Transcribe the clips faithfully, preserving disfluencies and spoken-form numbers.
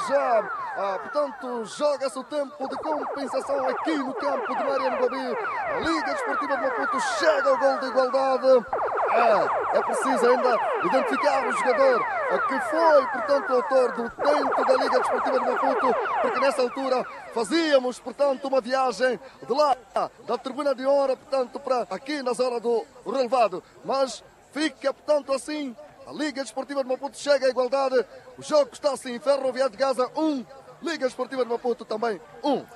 Já, portanto, joga-se o tempo de compensação aqui no campo de Mariano Guabi. A Liga Desportiva de Maputo chega ao gol de igualdade. É preciso ainda identificar o jogador que foi, portanto, o autor do tento da Liga Desportiva de Maputo, porque nessa altura fazíamos, portanto, uma viagem de lá da tribuna de honra, portanto, para aqui na zona do relevado. Mas fica, portanto, assim. A Liga Desportiva de Maputo chega à igualdade. O jogo está assim. Ferroviário de Gaza um, Liga Desportiva de Maputo também um.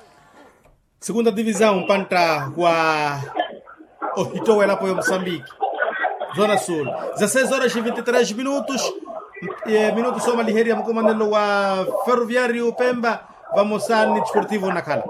Segunda divisão, pantta wa ohitto welapo ya Mosambiki, zona sul. Za seis horas e vinte e três minutos. Minutos omaliherya mukumanelo wa Ferroviário Pemba vamosa ni Desportivo Nakhala.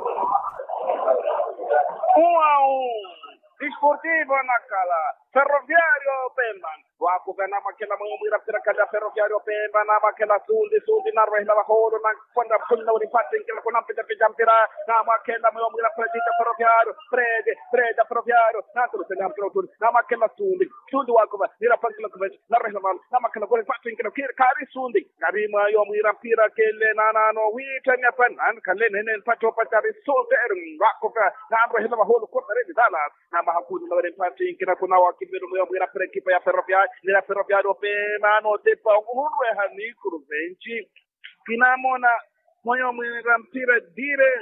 Desportivo Nakhala, Ferroviário Pemba. Wakuka namakhela mweyo mwira mpira kali ya Ferroviário Pemba, namakhela sundi sundi narwehela vaholo na kwanda phunna weri mpattinkela kuna mpitapita mpira. Namakhela mweyo mwira Fred ya Ferroviário, Fred, Fred ya Ferroviário. Naturusela mpira utuni, namakhela sundi sundi wakuka nira pankela kuvenci narwehela vaholo, namakhela kuri mpattinkela khiri khari sundi. Kari mweyo mwira mpira kele nanano witthanya panani kale nene mpatto patari sundi eri wakuka nanrwehela vaholo kuri taredi dala. Namaha khununuwela empatthi nkina khuna wakiviru mweyo mwira mpira ekipa ya Ferroviário nira Ferroviário opema notepa ohurweha ni kuruvenci. Kinamona mweyo mwira mpira dire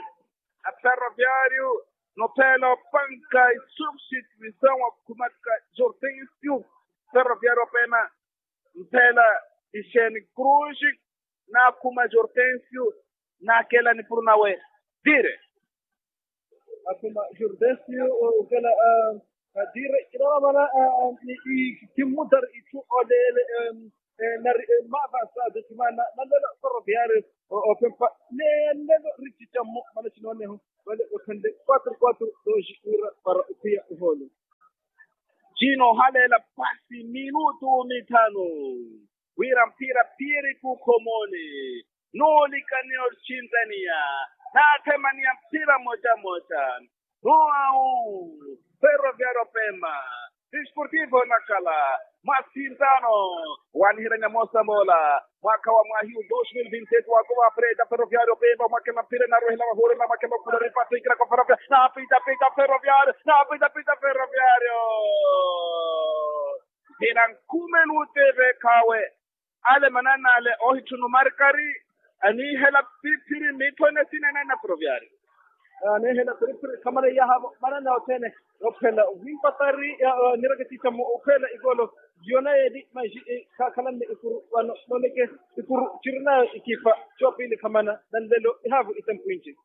a Ferroviário nophela opanka isubstituisaw akhumaka Jortensio. Ferroviário opema mphela ixeni Cruz. Nakhuma Jortensio nakela nipuru nawe dire. Akhuma Jortensio okela dire kinamana ni ikimmutari itthu olele. Nari mavasa adotimana nalelo Ferroviário opempa. Nalelo richichammo mana chinooneho vale othanle quatro quatro dos wira para ophiya oholo. Cino ohaleela pasi minutu mithanu wira mpira phiyeriki okhomoni. Nuulikaniya orcintaniya naathemaniya mpira moca moca. Nuwawu Ferroviário opema Desportivo Nakhala. Masintano waniherya nyamosa moola mwaka wa mwahiyu dos mil vinti seis wakuva freda Ferroviário opema omwakela mpira narwehela vaholo namakhela okhula ripattikira kwa Ferroviário. Napitapita Ferroviário napitapita Ferroviário. Mpira nkhume nuuteveekhawe. Ale manan'ale ohitthunu markari aniihela phiriphiri mitthone sinanana Ferroviário. Aniihela phiriphiri khamana iyaha vo manana othene. Ophela ohimpatari nireke tittamo ophela ikolo. Yona yeeli manji khakhalanne ikuru vano moneke ikuru cirinayo ikipa coopili khamana nanlelo ihaavo itempu inci.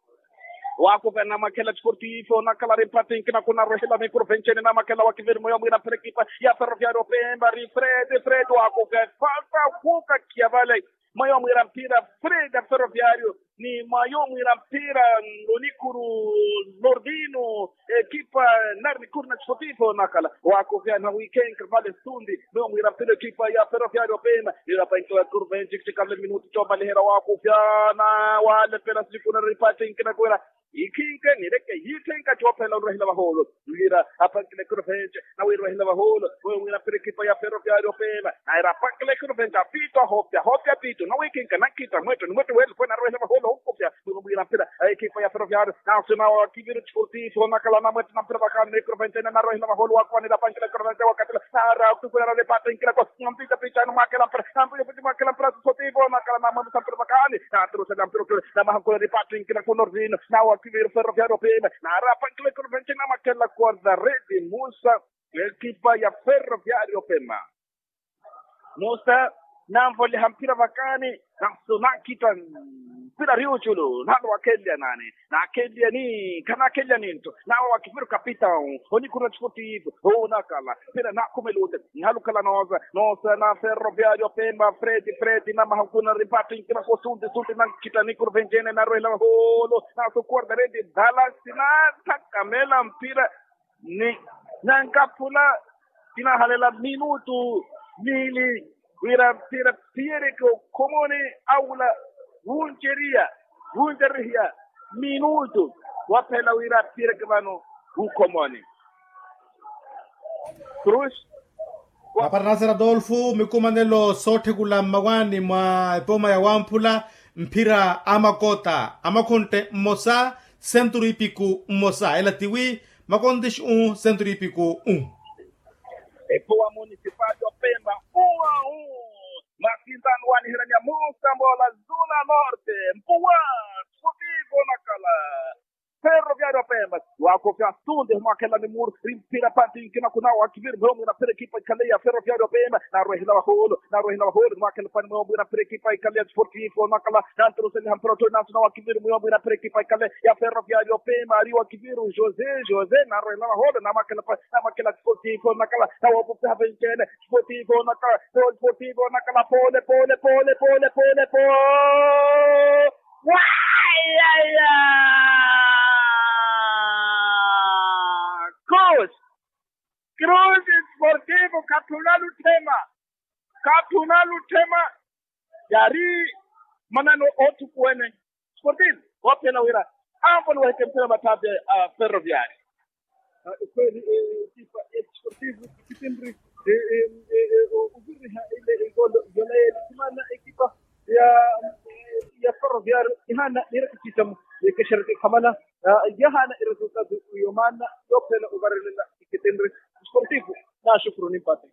Wakuka namakhela Desportivo Nakhala ripattinkina khunarwehela mikuru vencene namakhela wakiviru mweyo mwira mpira ekipa ya Ferroviário opemba ri Fred Fred wakuka falta kuka kiya vale. Mwayo mwira mpira Fred a Ferroviário ni mwayo mwira mpira lonikuru Lordino. Ekipa nari nikuru na Desportivo Nakhala wakuka na wikhenka vale sundi. Mwayo mwira mpira ekipa ya Ferroviário opema nira pankila kurvenci kitikale minutu comaliherya wakuka na wale pela silikuna ripattinkina kwira. Ikhinke nireke yiithenka coophela onrwehela vaholo. Wira apankile kurvenci na wirwehela vaholo. Mwayo mwira mpira ekipa ya Ferroviário opema naira apankile kurvenci apitu ahoopya ahoopya apitu na wikhinke nankhita mwetto ni mwetto wele kwena arwehela vaholo onkopya. Mwayo mwira mpira ekipa ya Ferroviário naso nawa kiviru Desportivo Nakhala namwetto na mpira vakani na kurvenci ene narwehela vaholo wakuva nira apankile kurvenci wakatila. Nara kutukula nale pata nkilako nampita pita numwakela mpira nampita pita mwakela mpira Desportivo Nakhala namwetto na mpira vakani. Naturusela mpira otule namaha nkula ripattinkina kuno rino nawa kiviru Ferroviário opema nara apankile kurvenci namakhela kuarda redi musa. Ekipa ya Ferroviário opema musa nanvoleha mpira vakani. Naso nankhita mpira riuculu nalo wakhelya nani nakhelya ni khanakhelya ninto nawa wakiviru kapitão. Onikhurwa Desportivo onakhala mpira nakhumeluta. Nihalukhala noosa noosa na Ferroviário opema Fred Fred namaha nkuna ripattinkina kosunti sunti nankhita nikuru vencene narwehela vaholo naso kuarda redi dala sinathakamela mpira. Ni nankaphula kinahalela minutu miili wira mpira phiyereke okhomoni. Awula wunceriya wuncererihiya minutu waphela wira phiyereke vano wukhomoni. Cruz. Aparanasera adolfo mikumanelo sootthekula mmawani mwa epoma ya wamphula. mphira a makota a makhontte mmosa, senturu ipiku mmosa ela tiwi makontixi u senturu ipiku u. Epowa municipal yopemba uwa u. Masintano waniheranya musambola zuna norte mpuwa sportivo nakala. Ferroviário pemba wakofya sunde mwakhela ni muru. Mpira pati nkina kuna wakiviri mweyo mwina pira ekipa ikale ya ferroviário pemba narwehela waholo narwehela waholo mwakhela pani mweyo mwina pira ekipa ikale ya sportivo nakala. Nantoroseliha mpira otoni nansuna wakiviri mweyo mwina pira ekipa ikale ya ferroviário pemba ari wakiviri josé josé narwehela waholo namakhela pani namakhela sportivo nakala. Nawopopeha vencene sportivo nakala sportivo nakala pole pole pole pole pole pole. Wayaya. Cruz. Cruz sportivo kathuna lutthema. Kathuna lutthema. Yari manano oothukuwene sportivo woophiyana wira ampo niwahike mphira mathapi a ferroviário. Kweli ekipa ya sportivo kitinri oviriha ile igolo yola yeli simana ekipa ya ya ferroviário ihana nira kikitamu yekeshereke khamana. Yahana iresultado yomaana yophela ovarelela ikitinri sportivo. Nashukuru nimpate.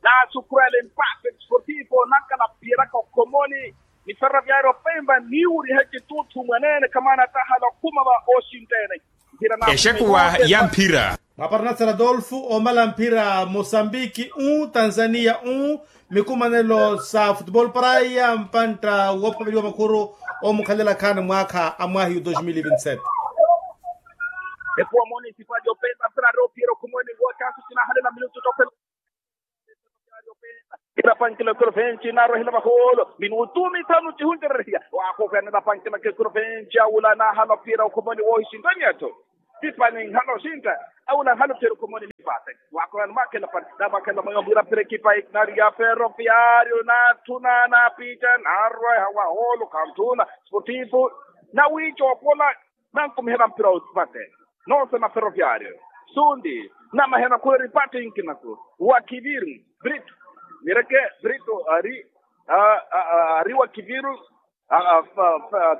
Nasukurela empate sportivo nakala phiyeraka okhomoni ni ferroviário pemba niwuriha ecituuthu mwaneene khamana tahala okhuma va oxintene. Exekuwa ya mphira. Mwaparnasela adolfo omala mphira mosambiki u tanzania u mikumanelo sa futebol paraya mpantta woophaveliwa makhuru omukhalela khani mwaakha a mwahiyu dos mil e vinti sete. Epuwa municipal yopemba mphira ari ophiyera okhumweni woocasu cinahalela minutu tophela. Irapankila kuruventi narwehela vahoolo minutu mithanu cihuncererya. Waakuvena irapankila kuruventi awula nahala ophiyera okhumweni woohixintani etho. Tipani nhala oxintta awula nhala ophiyera okhumweni nipate. Waakuvena makhela pani namakhela mweyo mwiira mphira ekipa nari ya ferroviario nathuna napitta narweha wahoolo khanthuna sportivo. Nawiica opola nankumihela mphira otipatte noosema ferroviario. Sundi namahena khulera ipatte inkinaku wa kiviru brito. Mireke brito ari ari wa kiviru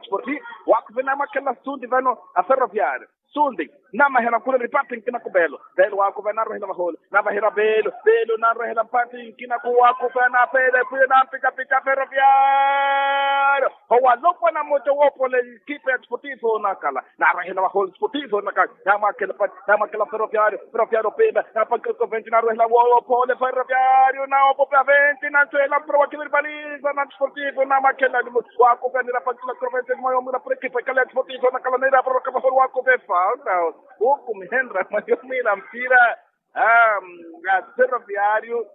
sporti. Wakuve namakhela sundi vano a ferroviario sundi namahena khulera ipatte inkinaku velo. Velo wakuve narwehela vahole navahira velo velo narwehela mpatte inkinaku wakuve napele pwile nampikapika ferroviario. Howalopwa na mmoja woopole ekipa ya sportivo nakala narwehela vahole sportivo nakala. Namwakhela pani namwakhela ferroviario ferroviario pemba napankela koventi narwehela woopole ferroviario nawopope aventi nantwela mpira wa kiviri paliza na sportivo namakhela nimu. Wakuve nirapankela koventi mwayo mwina pura ekipa ikala ya sportivo nakala niraporoka vahole wakuve falta. Ukumihenra mwayo mwina mpira a ferroviario.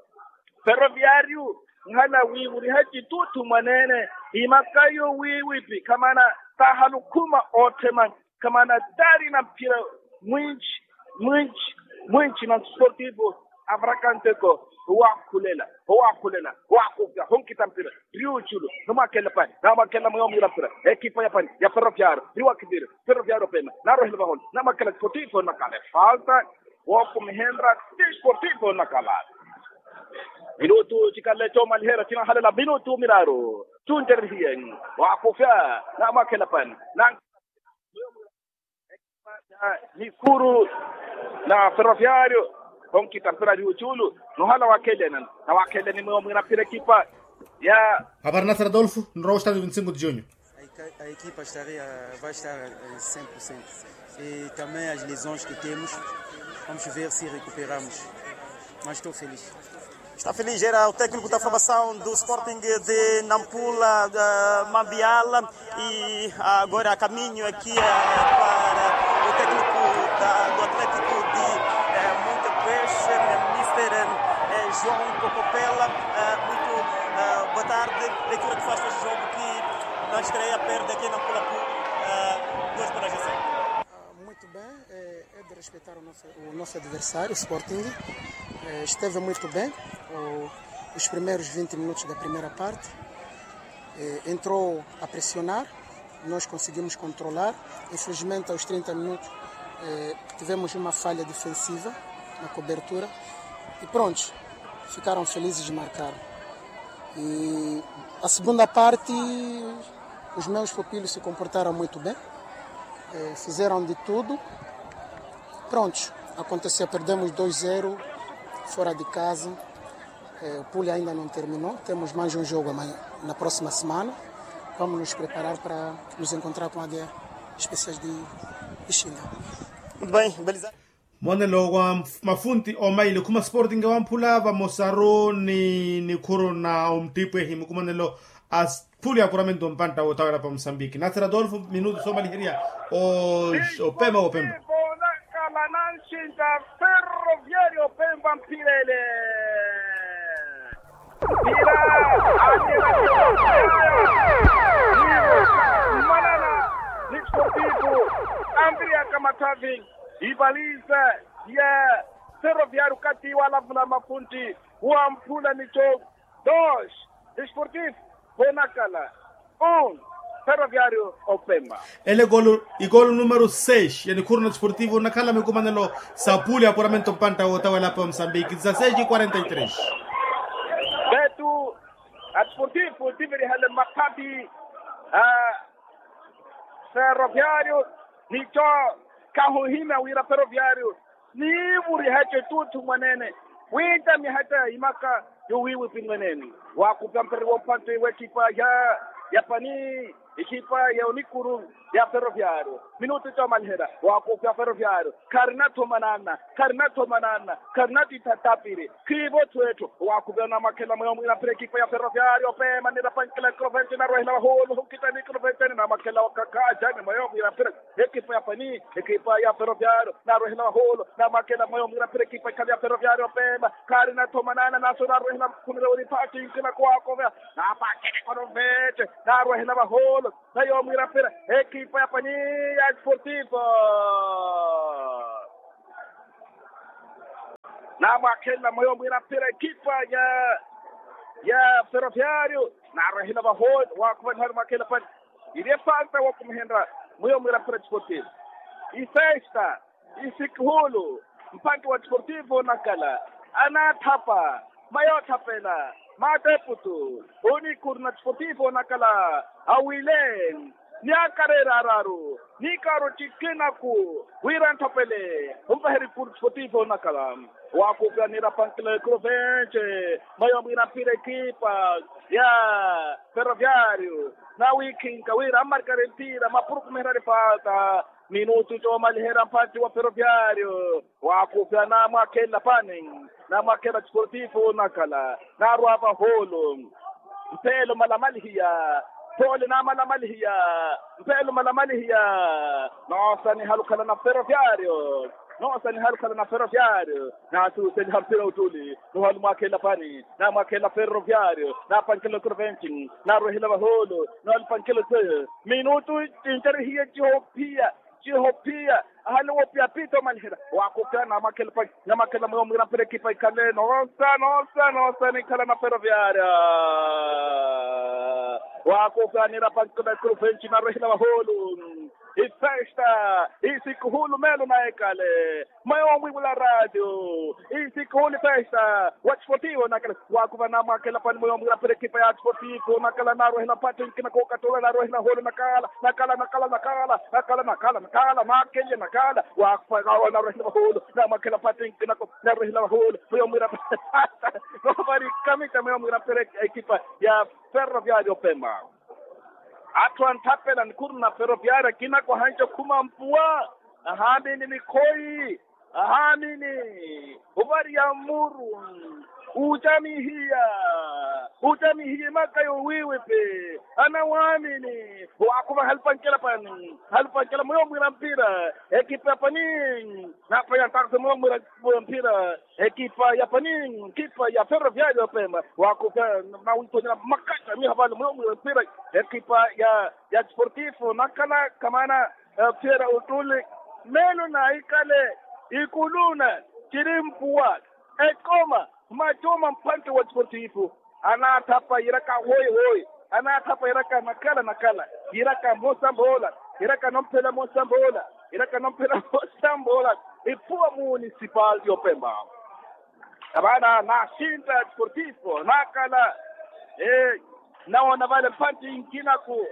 Ferroviario nhala wiivuriha cituuthu mwaneene imakayo wiiwipi khamana taha lukhuma ootthema khamana taari na mphira mwinci mwinci mwinci na sportivo. Avarakanteko owaakhulela owaakhulela owaakupya honkita mpira riuculu. Namwakhela pani namwakhela mweyo mwiira mpira ekipa ya pani ya ferroviario riwakiviri. Ferroviario pena narwehela vahole namwakhela sportivo nakala efalta. Wookumihenra ti sportivo nakala. Minutu cikale coomaliherya cinahalela minutu miraaru. Cuncererihiye waakufya namwakhela pani na nikuru na ferroviario. Onkita mpira ari oculu nohala waakhelene nawaakhelene mweyo mwina mpira ekipa ya. Aparnasera adolfo nrowa ostado vinti cinco de junho. A equipa estaria vai estar em cem por cento. E também as lesões que temos, vamos ver se recuperamos. Mas estou feliz. Está feliz, era o técnico da formação do Sporting de Nampula, Mambiala, e agora a caminho aqui para o técnico do Atlético de Monte Peixe, Mister João Cocopela. Muito boa tarde. Leitura que faz deste jogo que na estreia perde aqui na Pula por dois bolas a zero. Muito bem, é de respeitar o nosso, o nosso adversário, o Sporting. Esteve muito bem os primeiros vinte minutos da primeira parte. Entrou a pressionar, nós conseguimos controlar. Infelizmente, aos trinta minutos, tivemos uma falha defensiva na cobertura. E pronto, ficaram felizes de marcar. E a segunda parte, Os meus pupilos se comportaram muito bem, eh, fizeram de tudo. Prontos, aconteceu, perdemos dois zero fora de casa. Eh, o pule ainda não terminou, temos mais um jogo amanhã, na próxima semana. Vamos nos preparar para nos encontrar com a águia especiais de Ixinga. Muito bem, Belisário. Mwanelo wa mafunti omaili khuma sporting wamphula vamosaru ni nikhuru na omtipwehi mukumanelo a phuli ya apuramento mpantta wotawela pa mosambiki nasera adolfo minutu somaliherya. Opema opema. Nakala na nxinta ferroviario opemba mpilele. Mpila. Manana. Ni sportivo. Andria kamathavi. Ipaliza ya ferroviario kati walavula mafunti. Wamphula nico. Dos. Sportivo. Vonakala. Un. Ferroviario opemba. Ele golo igolo numero seis ya nikhuru na sportivo nakhala mikumanelo sa puli ya apuramento mpantta wotawela apa mosambiki dezasseis e quarenta e três. Betu. A sportivo tivirihale maphapi a ferroviario. Nico kahuhimya wira ferroviario niivuriha eco etuuthu mwanene. Wiitamiha eco ya imaka yowiiwipi mwanene. Waakupya mpira woomphantte w'ekipa ya ya pani ekipa ya onikuru ya ferroviario. Minutu coomaliherya waakupya ferroviario. Kharina-tho mananna. Kharina-tho mananna. Kharina-tho ithatapiri. Khiivo-tho etthu. Waakupya namwakhela mweyo mwiira mpira ekipa ya ferroviario opeema nirapankela ekrovenci narwehela vahuulu hunkita ni ekrovenci ni namwakhela wakakhajani mweyo mwiira mpira. Ekipa ya pani ekipa ya ferroviario narwehela vahuulu. Namwakhela mweyo mwiira mpira ekipa ikhale ya ferroviario opeema. Kharina-tho mananna naso narwehela khumira weriphati nkina kuwaakovya. Napakele ekrovenci narwehela vahuulu. Nayo mwiira mpira ekipa ya pani ya sportivo. Namwakhenla mweyo mwiira mpira ekipa ya ya ferroviario. Narwehela vahooli waakhuva nihali mwakhenla pani. Iri efalta wakumihenrya mweyo mwiira mpira sportivo. Ifesta. Isikihulu mpanki wa desportivo onakala anaathapa mayoothapela maateputu. Onikuru na desportivo onakala awile ni akareera araru ni kaaro cikinaku wira anthapele onvaheri kuru desportivo onakala. Waakupya nirapankela ekrovenci mayo mwiira mpira ekipa ya ferroviario. Nawikhinka wira ammarikari mpira mapurukumiherya ripata. Minutu coomaliherya mphantti wa ferroviario. Waakupya namwakhenla pani namwakhenla desportivo onakala narwa vahoolo. Mpeelo malamalihiya. Poole namalamalihiya. Mpeelo malamalihiya. Noosaniha lukhala na ferroviario. Noosaniha lukhala na ferroviario. Naasuuseliha mpira ottuli nohali mwakhenla pani namwakhenla ferroviario napankela ekrovenci narwehela vahoolo nohali pankela ete. Minutu cinjarihiye cihophiya. Cihophiya ahali wophiya pitta omaliherya. Waakupya namwakhela pani namwakhela mweyo mwiira mpira ekipa ikhale noosa noosa noosa nikhala na ferroviaria. Waakupya nirapankela ekrovenci narwehela vahoolo. Ifesta. Isikuhulu meelo na ekale. Mweyo mwiivula radio. Isikuhulu ifesta wa desportivo onakala. Waakhuva namwakhenla pani mweyo mwiira mpira ekipa ya desportivo onakala narwehela mphantti nkina kookattola narwehela hoolo nakala nakala nakala nakala nakala nakala nakala nakala nakala nakala. Waakhuva narwehela vahoolo namwakhenla mphantti nkinako narwehela vahoolo mweyo mwiira mpira. Noovarikamita mweyo mwiira mpira ekipa ya ferroviario opemba. Atthu anthapela nikhuru na ferroviaria akina kwahanca okhuma mpuwa. Ahaamini mikhoyi. Ahaamini ovariya mmuru. Ocamihiya. Ocamihiya emaka yowiiwipi. Anawaamini. Waakhuva halipankela pani halipankela mweyo mwiira mpira ekipa ya pani. Naphaya ntarusa mweyo mwiira mpira ekipa ya pani ekipa ya ferroviario opemba. Waakupya nawiithonyela makatta miha vale mweyo mwiira mpira ekipa ya ya desportivo nakala kamana. Fiera ottuli meelo na ikale ikuluna ciri mpuwa ekoma macuma mphantti wa desportivo. Anaathapa yiraka hoyi hoyi. Anaathapa yiraka nakala nakala yiraka mosa mboola. Yiraka nomphela mosa mboola. Yiraka nomphela mosa mboola. Iphuwa municipal y'opemba. Avaana naaxintta desportivo nakala. Nawoona vale mphantte inkinaku,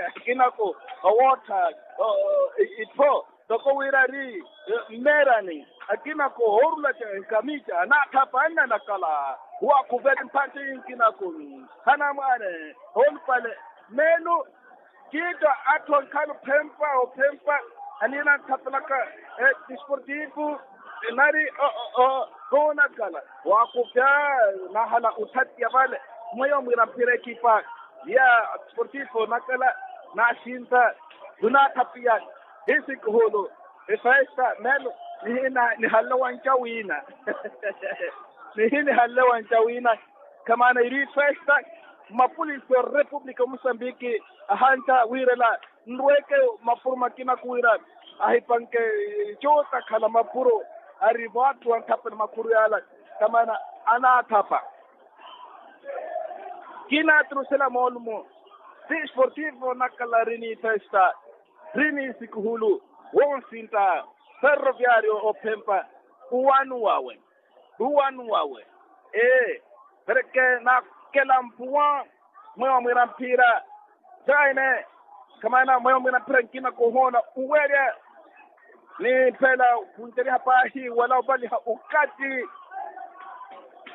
akinaku owoottha ittho, toko wira ari mmeerani, akinaku oorulaka nkamica anaathapa annanakala. Waakuveli mphantte inkinaku, hanamwaane, olupale, meelu. Kiitta atthu ankhala ophempa ophempa, aniina anthapelaka disportivo, nari oonakala waakupya, nahala othatiya vale. Mweyo mwiira mphira ekipa ya disportivo onakala, naaxinta, khunaathapiyani. Hi sikuhulu, efesta meelo, nihina nihanle wanca wiina. Nihi nihanle wanca wiina. Kamaana iri festa, mapolisi o repupulika o musambiki, ahantta wiirela nrweke mapuro makina kuwira ahipanke, coota khala mapuro, ari vaattu anthapela makhuru yaala. Kamaana anaathapa. Kinaattusela moolumo, si sportivo nakala ri ni festa, ri ni sikuhulu, wonsinta, ferroviario ophempa, uwanu wawe. Uwanu wawe, ee, pereke naakela mpuwa, mweyo mwiira mphira. Saine, kamaana mweyo mwiira mphira nkina kuhoona uwerya, ni mphela kunceriha paahi wala ovaliha okatti.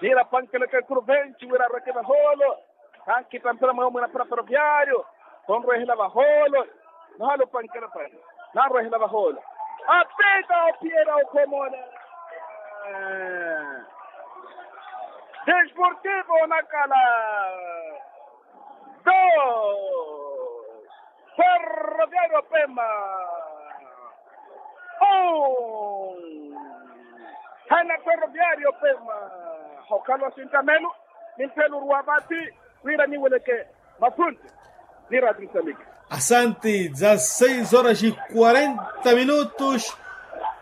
Niira pankeleke kuru venci wira arweke vahoolo. Khankhita mphira mweyo mwiira mphira ferroviario, khonrwehela vahoolo. Nahala opankela pale, nanrwehela vahoolo. Apita ophiyela okhomona. Desportivo onakala, dos, ferroviario pemba, un. Hana ferroviario pemba. Hokhala osintamelo, ni mphelo oruwa vathi, wira niweleke mafunti. Ni rati msaliki. Asanti. Dza seis horas e quarenta minutos.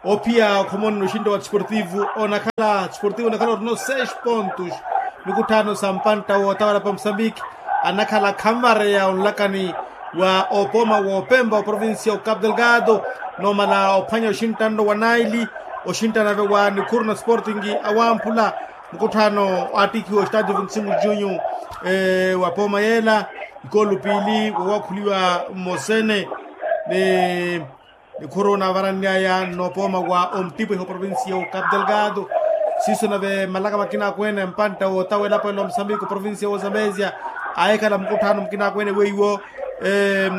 Ophiya okhomoni no oxinto wa desportivo onakhala desportivo onakhala orino seis pontos. Mikutthano sa mpantta wootawala pa musambiki, anakhala khanvareya onlakani wa opoma woopempa oprovincia o capo delgado, noomala ophwanya oxintta nno wa naili, oxintta nave wa nikhuru na sporting awamphula. Mukutthano aattikhiwa ostadio vinti cinco junho, wa pooma yeela, ikolu piili wowakhuliwa mmosene, ni nikhuru naavaranly'aya nnopooma wa omtipwehi oprovincia o capo delgado. Siiso nave malaka makina akweene mpantta wootawa elapo ela omsambiku oprovincia wa zambezia, aahikhala mukutthano mukina akweene weiwo,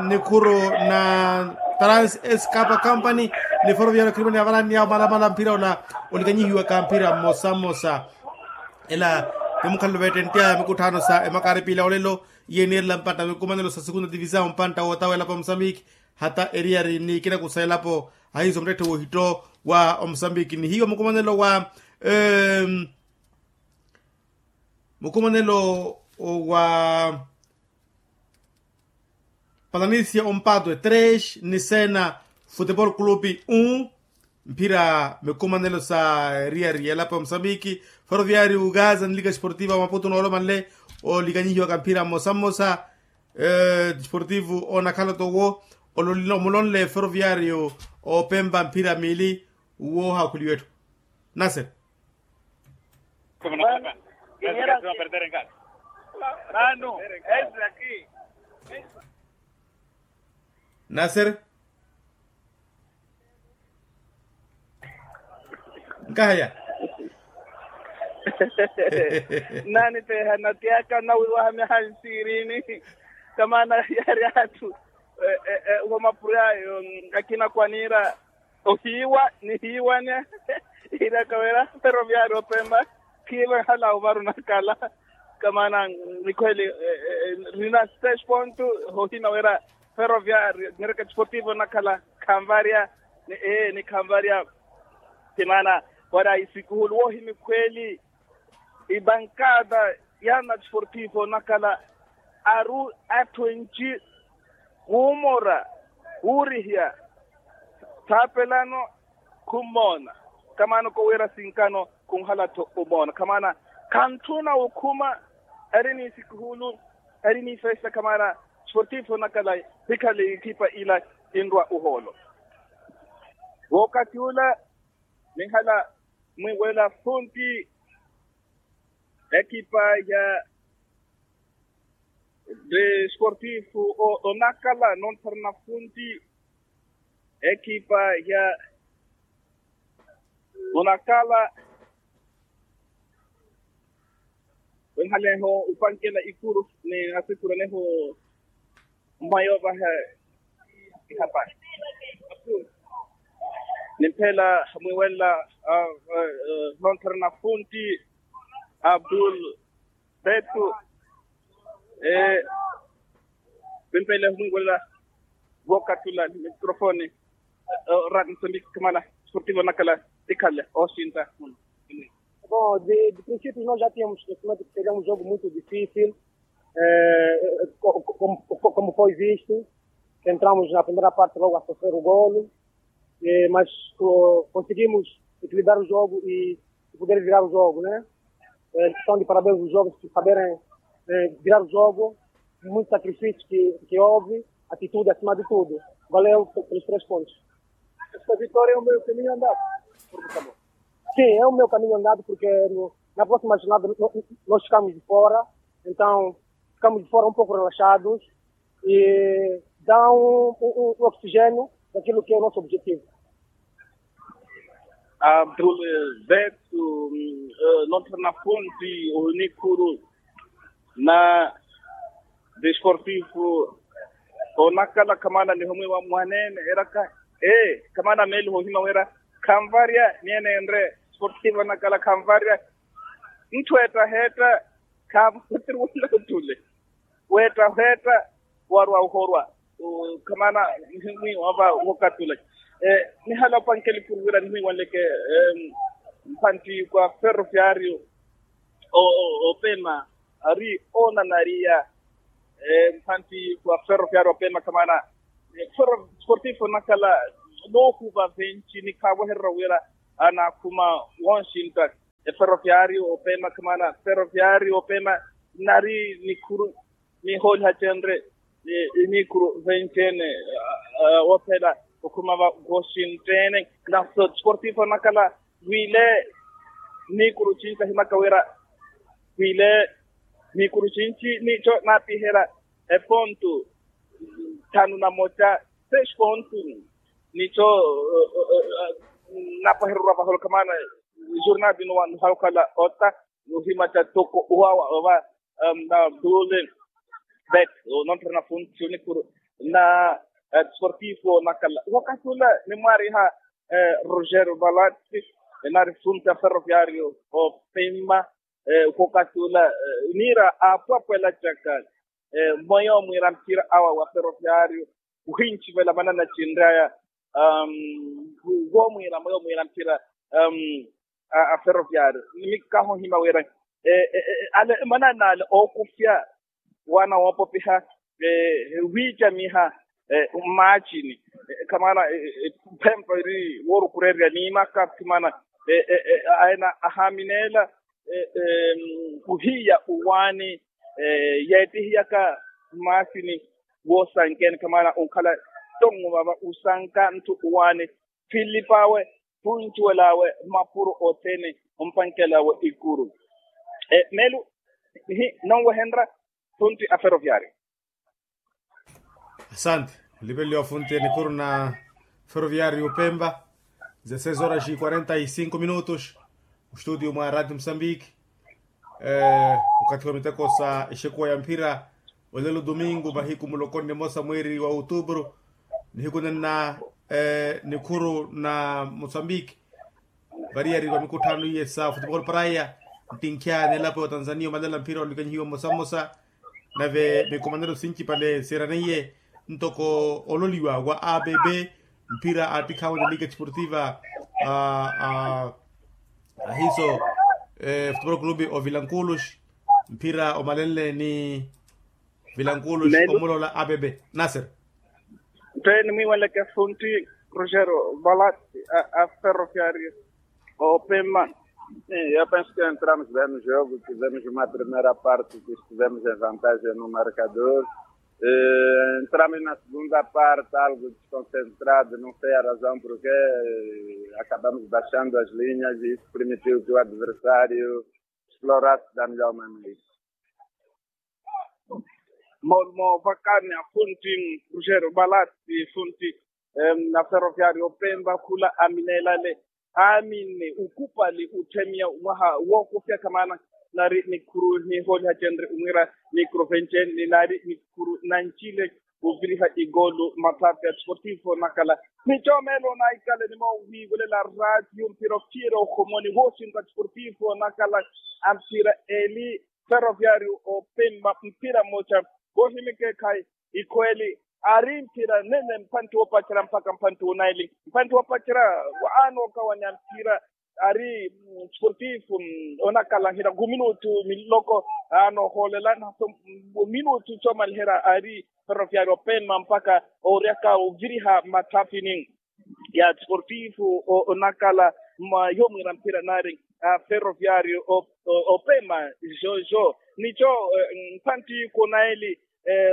nikhuru na trans escapa company, ni ferroviario khirima ni avaranly'awo malamala mphira ola, olikanyihiwaka mphira mmosa mmosa. Ela, nimukhalelo veettentt'aya mikutthano sa emakari piila olelo, iye niirela mpantta mikumanelo sa segunda divisao mpantta wootawa elapo ya musambiki, hata eriyari ni ikinaku sa elapo, ahiiso muttetthe woohitto wa omusambiki nihiiwa mukumanelo wa mukumanelo wa palanisia ompatwe tres ni sena, futebol clube un. Mphira mikumanelo sa eriyari elapo ya musambiki, ferroviario ugaza ni liga esportiva wa maputo noolomanle olikanyihiwaka mphira mmosa mmosa. Desportivo onakhala towo, omulonle ferroviario opempa mphira miili. Woohaakhuliwa etthu. Nasere. Nasere. Nkahaya. Nani peha natiyaka nawiwaha myaha nsirini. Kamaana yaari atthu, wamapuryayo akina kwaniira ohiiwa nihiiwanya. Iiraka wira ferroviario opempa khiivanhala ovaru nakala. Kamaana nikhweli, rina seis ponto. Hohina wira ferroviario nireka desportivo nakala khanvarya. Ni khanvarya. Timaana wara isikuhulu woohimi khweli. Ibankada yana desportivo nakala aru atthu enci, wuumora, wuurihya, thaapelano, khummoona. Kamaana kowira sinkano khunhala-tho omoona kamaana, khantthuna wukhuma. Ari ni sikuhulu, ari ni festa kamaana, desportivo nakala hikhale ikipa ila, inrwa uhoolo. Wookati ula, ninhala mwiwela funti ekipa ya Desportifu o onakala nontharana funti ekipa ya onakala wenhaleho upankela ikuru ni asikuraneho mwayo vahe ihapari nimphela mwiwelela nontharana funti abdul betu pimpele humwingolela vookatula mikrofoni. Rati nsambiki kamala sportivo nakala tikhalle osinta. Bom, de princípio nós já tínhamos conhecimento que seria um jogo muito difícil. Como foi visto, entramos na primeira parte logo a sofrer o golo, mas conseguimos equilibrar o jogo e poder virar o jogo, né? Estão de parabéns os jovens por saberem virar o jogo, muito sacrifício que houve, atitude acima de tudo. Valeu pelos três pontos. Essa vitória é o meu caminho andado. Sim, é o meu caminho andado porque na próxima jornada nós ficamos de fora, então ficamos de fora um pouco relaxados e dá um oxigênio daquilo que é o nosso objetivo. Abdul betu nontharana funti onikuru na desportifu onakala kamana nihomwiwa mwanene eraka e kamana meli hohima wira khanvarya niyenenre sportifu onakala khanvarya ntthu ettaheetta khanvutiri wala ottule weettahweetta warwa ohorwa khamana mwiwa va wokatula nihala opankeli puruvira nimwiwanleke mphantti kwa ferroviario opema ari onanariya mphantti kwa ferroviario opema khamana sportifu nakala noohuva venci nikhaavohererya wira anakhuma wonxintta eferroviario opema khamana ferroviario opema nari nikhuru nihooliha cenre iniikuru venci-ene woophela okhuma va washington na sportivo nakala wile niikuru cinci ahimaka wira wile niikuru cinci nico naapiherya epontu thanu na moca seis pontu nico napahererya vaholokamana jornal vino wanuhakala ota nuhima ca toko uwawa ova na dule bet nontrena funti onikuru na sportivo nakala wakati ula nimwariha roger valati nari funti a ferroviario opima wakati ula nira apwapwela caka mweyo mwira mpira awa wa ferroviario uhincivela manana cinraya womwira mweyo mwira mpira a ferroviario nimikaho hima wira ale manana ale okufya wana wopopiha wiicamiha mmaacini khamana phempa iri worukurerya niimaka khimana aena ahaminela kuhiya uwaani yeetihiyaka mmaasini woosankeni khamana onkhala tongo vava usanka ntthu uwaani philipaawe phuncuwelaawe mapuro othene ompankelawe ikuru melu nonwehenrya funti a ferroviario. Asante. Olipeliwa funti enikhuru na ferroviario pemba. Dezesseis horas e quarenta e cinco minutos. Mustutio mwa radio mosambiki. Okathi wa miteko sa exekuwa ya mphira olelo domingo mahiku muloko nne mosa mweeri wa outubro. Nihiku nenna nikhuru na mosambiki variyari va mikutthano iye sa futebol praya ntinkhya n'elapo ya otanzania omalela mphira olikanyihiwa mmosa mmosa nave mikomanelo sincipale siraneiye ntoko ololiwa wa abb mphira attikhawe ni liga desportiva ahiso futebol clube ovilankulos mphira omalenle ni vilankulos omulola abb nasir. Ntthu nimwiiwanleke funti rogero valat a ferroviario opema. Eu penso que entramos bem no jogo, tivemos uma primeira parte que estivemos em vantagem no marcador. Entramos na segunda parte algo desconcentrado, não sei a razão porque acabamos baixando as linhas e isso permitiu que o adversário explorasse da melhor maneira. Moolmo vakani afunti, rugero balati funti, na ferroviario pemba khula aminelale, aamini ukupali utthemiya mwaha wookufyaka maana, nari nikhuru nihooliha cenre umwiira, nikuru vencenni nari nikhuru nancile, uviriha ikoolu mathapi a desportivo nakala. Ni coomelo naikale nimowiiwelela radio mpira ofiira ohomoni wooxinta desportivo nakala, a mpira eli ferroviario opemba mpira mmoja. Koohimika ekhayi, ikhweeli, ari mpira nene mpantti woopacerya mpakha mpantti wunaili, mpantti woopacerya, aana okawanya mpira, ari sportifu onakalahiha khuminutu miloko, aana ohoolela naso, minutu coomaliherya ari ferroviario opemba mpakha oryaka oviriha matthafini ya sportifu onakala, mwa yomwiira mpira nari ferroviario opema. Jojo nico, mpantti kunaeli,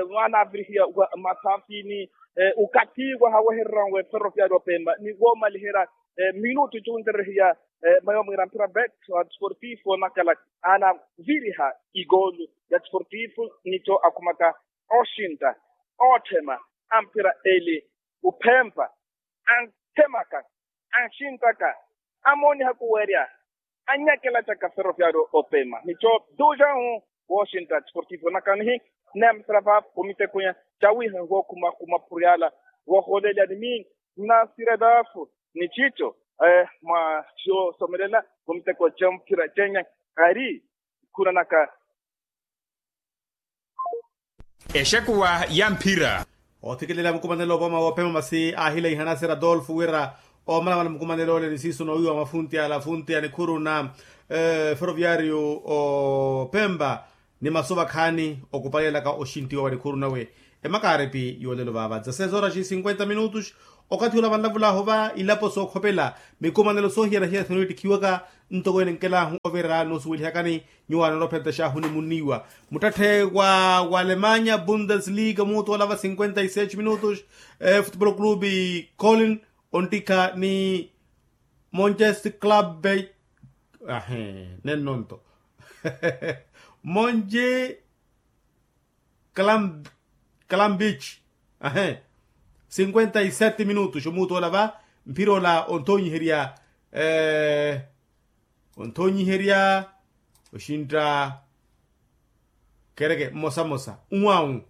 mwaana avirihiya wa matthafini, ukathi wahawehererya we ferroviario opema ni woomaliherya minutu cuunterehiya, mwa yomwiira mpira bet sportifu onakala, aana viriha ikoolu ya sportifu nico akhumaka, oxintta, ootthema, a mpira eli, uphempa, anthemaka, anxinttaka, amooniha kuwerya, anyakelacaka ferroviario opema nico, duxahu, wooxintta sportifu nakanihi, nneemisela va vumitekunya, cawiha wookhuma khuma phuriyala, woohoolelya ni mii, nnasira dafu, ni cico, mwa coosomelela vumiteko cemphira cenya, ari khunanaka. Exekuwa ya mphira. Oothikilela mukumanelo opoma woophema masi aahileiha nasera adolfo wira, oomalamala mukumanelo ole ni siiso noowiiwa mwa funti ala funti a nikhuru na ferroviario opemba, ni masu vakhaani okupalelaka oxintiwa wa nikhuru nawe. Emakaaripi yoolelo vaava dezasseis horas e cinquenta minutos. Okathi ula vanlavulahu va ilapo sookhopela, mikumanelo soohiyana-hiyana sinootikhiwaka, ntoko ene nkelahu ovira noosuwelihakani, nyuwo anoona ophentexa ahunimunniwa. Muttatthe wa alemanya bundesliga omuutu olava cinquenta e seis minutos, futebol clube colin, onttikha ni monchest club, ahe, nennonto monche clambeach, ahe, cinquenta e sete minutos omuutu ola va, mphira ola onthonyiherya, onthonyiherya oxintta kereke mmosa-mmosa uwawu.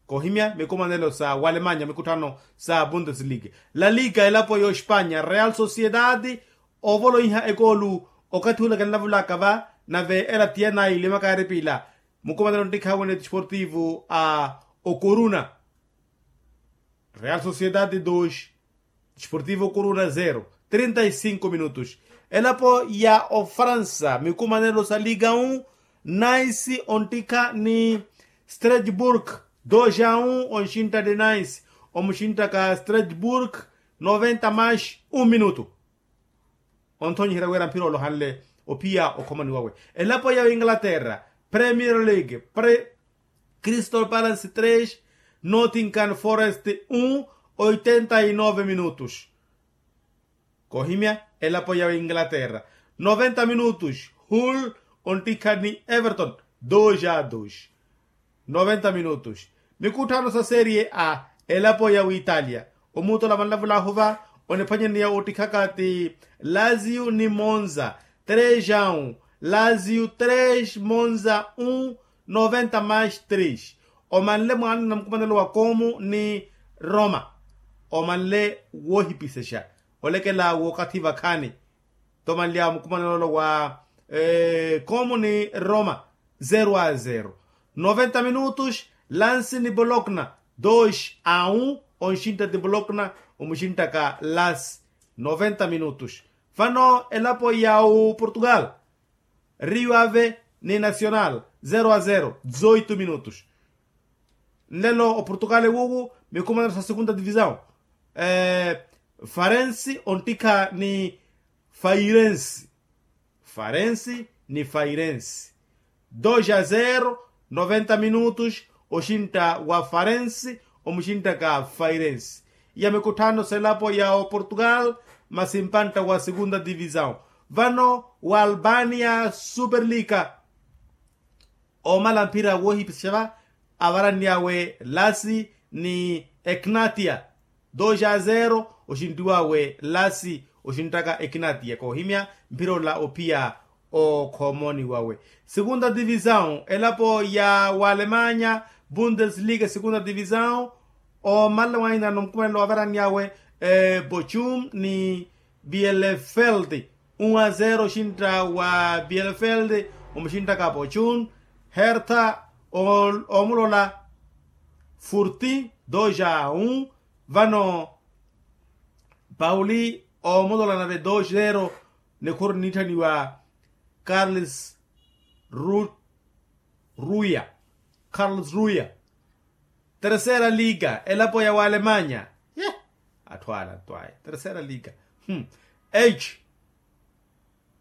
Koohimya mikumanelo sa walemanya mikutthano sa bundesliga, la liga elapo ya ospanya real sociedade, oovoloiha ekoolu, okathi ula kenlavulaka va, nave ela tiyana ilimaka eripila, mukumanelo nttikhawe ni desportivo a okoruna. Real sociedade dos, desportivo coruna zero. Trinta e cinco minutos. Elapo ya ofaransa mikumanelo sa liga un, nice onttikha ni strasbourg, dos a un onxintta de nice, omuxinttaka strasbourg, noventa mais un minuto. Onthonyiherya wira mphira olohanle ophiya okhomani wawe. Elapo ya inglaterra, premier league, crystal palace tres, nottingham forest un, oitenta e nove minutos. Koohimya elapo ya inglaterra, noventa minutos, hull onttikha ni everton, dos a dos. Noventa minutos. Mikutthano sa serie a, elapo ya witalia, omuutola vanlavulahu va, oniphwanyeneya ottikhaka ti lazio ni monza, tres a un, lazio tres monza un, noventa mais tres. Omanle mwaana na mukumanelo wa como ni roma, omanle woohipisexa, olekela wookathi vakhaani. Tomanly'awe mukumanelo wa como ni roma, zero a zero. Noventa minutos, lance ni bolokna, dos a un, onxintta ti bolokna, omuxinttaka lance. Noventa minutos. Vano elapo ya oportugal, rio ave ni nacional, zero a zero, dezoito minutos. Nlelo oportugal ewuwu, mikumanelo sa segunda divisão, farense onttikha ni fairense. Farense ni fairense, dos a zero, noventa minutos, oxintta wa farense, omuxinttaka fairense. Iya mikutthano selapo ya oportugal, masi mpantta wa segunda divisão. Vano wa albania superliga, omala mphira woohipisexa va, avaranny'awe lasi ni eknatia. Dos a zero oxintiw'awe lasi oxintaka eknatia koohimya mphira ola ophiya okhomoni wawe. Segunda divisão elapo ya walemanya bundesliga segunda divisão. Omanle wainano mukumanelo wavaraniyawe bochum ni bielefeld. Un a zero oxintta wa bielefeld omuxinttaka bochum. Hertha omulola furti dos a un. Vano pauli omulola nave dos zero. Nikhuru niitthaniwa carles ruya. Carles ruya. Terceira liga elapo ya walemanya. Ye atthu ala ntwaye terceira liga. H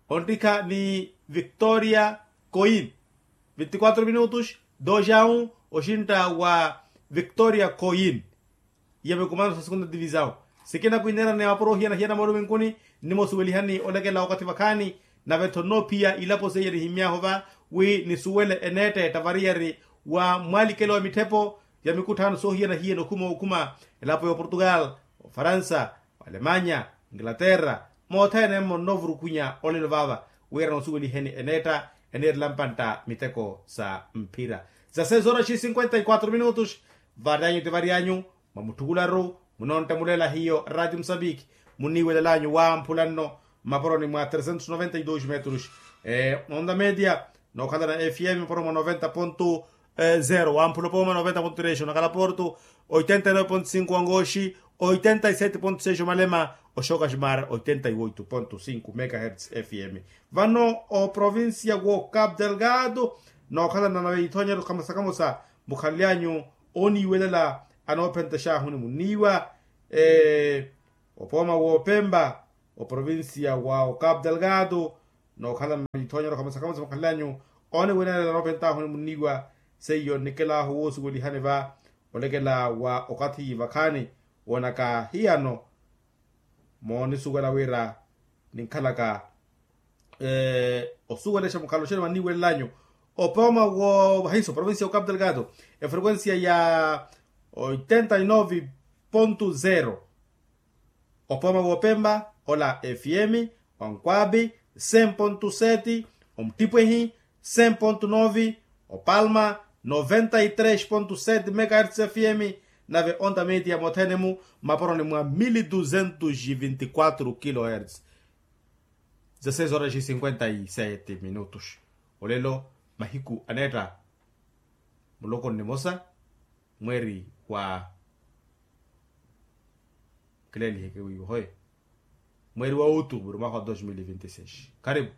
ontikha ni victoria coin. Vinti quatro minutos dos a un oxintta wa victoria coin. Iya mikumanano sa segunda divisão sikina kwineerani ya mapuro ohiyana-hiyana mooluminkuni. Nimosuwelihani olekela wakathi vakhaani nave-tho nnoophiya ilapo seiya nihimmy'ahu va wi nisuwele eneetta ettavariyari wa mwalikelo wa mitthepo ya mikutthaano soohiyana-hiyana okhuma okhuma elapo ya oportugal, ofaransa, oalemanya, inglaterra. Mothene mmo nnoovurukhunya olelo vaava wira noosuweliheni eneetta eneerela mpantta miteko sa mphira. Za seis horas e cinquenta e quatro minutos. Varyanyu ti varyanyu mwa mutthukularu munontte muleela hiyo rati musambiki. Muniiwelelanyu wamphula nno mmaporoni mwa tresentos noventa e dos metros. Onda media nookhalana fm mmaporoni mwa noventa ponto zero wamphula opooma noventa ponto tres onakhala porto, oitenta e nove ponto cinco wangoxi, oitenta e sete ponto seis omalema, oxoka ximar oitenta e oito ponto cinco megahertz fm. Vano oprovincia wo cap delgado nookhalana nave ithoonyeryo kamosa kamosa mukhanlyanyu oniiwelela anoophenta exaahuni muniiwa. Opooma woopempa oprovincia wa ocap delgado nookhala ithoonyeryo kamosa kamosa mukhanlyanyu oniwelela anoophentahuni muniiwa. Seiyo nnikel'ahu woosuwelihani va olekela wa okathi vakhaani woonaka hiyano moonisuwela wira ninkhalaka osuwelexa mukhalo xene vanniiwelelanyu. Opooma wo vahiso provincia ya ocap delgado efrequencia ya oitenta e nove ponto zero. Opooma woopempa ola fm, onkwapi cem ponto sete, omuttipehi cem ponto nove, opalma noventa e tres ponto sete megahertz fm, nave onda media mothene-mu mmaporoni mwa mili duzentos e vinti quatro kilohertz. Za seis horas e cinquenta e sete minutos. Olelo mahiku aneetta muloko nimosa mweeri wa kileeliheke wiiwa hoye mweeri wa outubru mwaha wa dos mil e vinti seis. Karipu.